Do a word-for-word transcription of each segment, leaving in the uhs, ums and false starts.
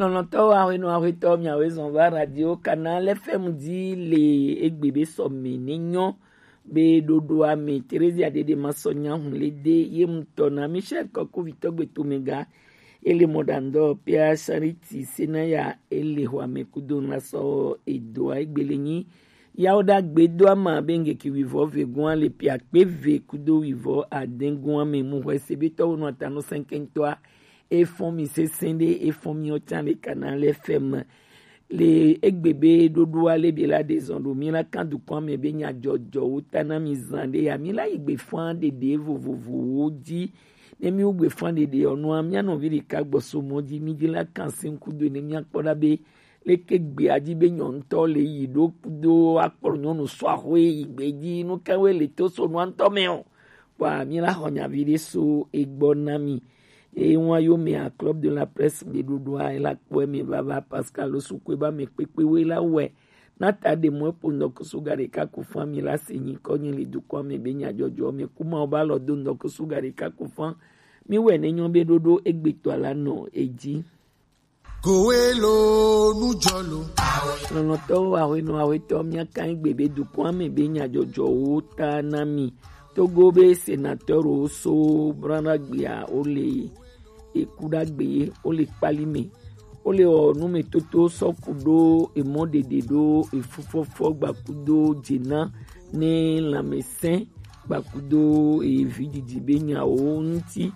Lɔlɔ̃tɔwo, ahwenɔ ahwetɔ, miawoe zɔn va Radio Canal F M dzi le egbe be sɔmi ne nyɔ be ɖoɖoa me. Teresia Dede ma sɔ nya hun le de ye ŋutɔ na Michel Kɔku vitɔ gbeto mega ele mɔɖaŋdɔ Pia Charity Senaya ele xɔa me kudo ŋla sɔ edoa egbele nyi yawo ɖagbe do ama be ŋgeki wivɔ ve gua le pia kpe ve kudo wivɔ adẽ gua me mu xɔe se be tɔwo nɔ atanu sɛnkɛntɔa efɔn mi sesẽ ɖe efɔn mi ɔtsa le kana le fɛm le egbe be ɖoɖoa le bi la de zɔn ɖo mi la kan dukɔa me be nya jɔjɔwo ta na mi zan ɖe ya mi la yi gbe fã ɖeɖe vovovowo dzi ne mi wo gbe fã ɖeɖe ɔnua mia nɔvi ɖeka gbɔso mɔ dzi mi dzi la kan se ŋku do ne mia kpɔ ɖa be leke gbea dzi be nyɔnutɔ le yi ɖo kudo akplɔ nyɔnu sɔ axoe yi gbe dzi nu kawoe le to so nua ŋutɔ me o. Kpɔa mi la xɔ nyavi ɖe so egbɔ na mi. Eye ŋua yo mea Club de la Presse gbeɖoɖoa ela kpɔe me vava Pascal Osukue ba me kpekpe we la wɛ. Na ta ɖe mɔ epo ŋdɔkusu ga ɖeka ku fã mi la se nyi kɔ nyi le dukɔa me be nyadzɔdzɔ me ku ma wo ba lɔ do ŋdɔkusu ga ɖeka ku fã mi wɛ ne nyɔ be ɖoɖo egbetɔ la nɔ edzi. Kowelo nujɔlo. Lɔlɔ̃tɔwo, ahwenɔ ahwetɔ, míaka egbe be dukɔa me be nyadzɔdzɔwo ta na mi. Togo be senatɔrwo so branagbea wo le eku ɖagbe ye wo le kpali me. Wo le wɔ numetoto sɔ ku ɖo emɔ ɖeɖe ɖo efufɔfɔ gbakudo dzena ne lãmesẽ gbakudo evi didi be nyawo ŋuti.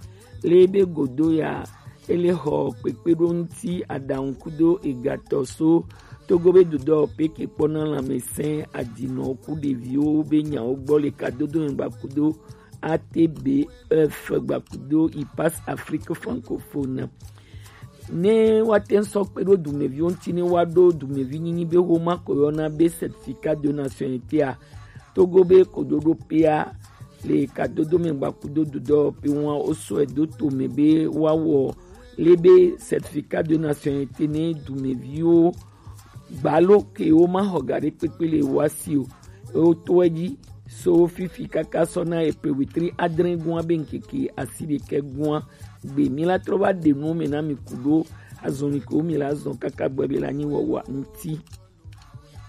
Le be godo ya ele xɔ kpekpeɖoŋuti aɖaŋu kudo egatɔ so Togo be dudɔ peke kpɔna lãmesẽ adinɔ ku ɖeviwo be nyawo gbɔ le kadodo ŋgba kudo A T B F gbakudo Ipas Afrique francophone. Ne woate ŋu sɔ kpe ɖo dumeviwo ŋuti ne woaɖo dumevi nyinyi be xoma ko yɔna be certificat de nationalité a, Togo be kojoɖo pea le kadodo me gbakudo dudɔ pe ŋua wosɔe do to me be woawɔ le be certificat de nationalité ne dumeviwo gbalo ke wo ma xɔ ga ɖe kpekpe le wa si o. Wo to edzi so fifi kaka sɔ na epe wetri adre gua be ŋkeke asi ɖekɛ gua gbe mi la trɔ va ɖe nuwo me na mi ku ɖo azɔli ke wo mi la zɔn kaka gbɔ be la nyi wɔwɔ ŋuti.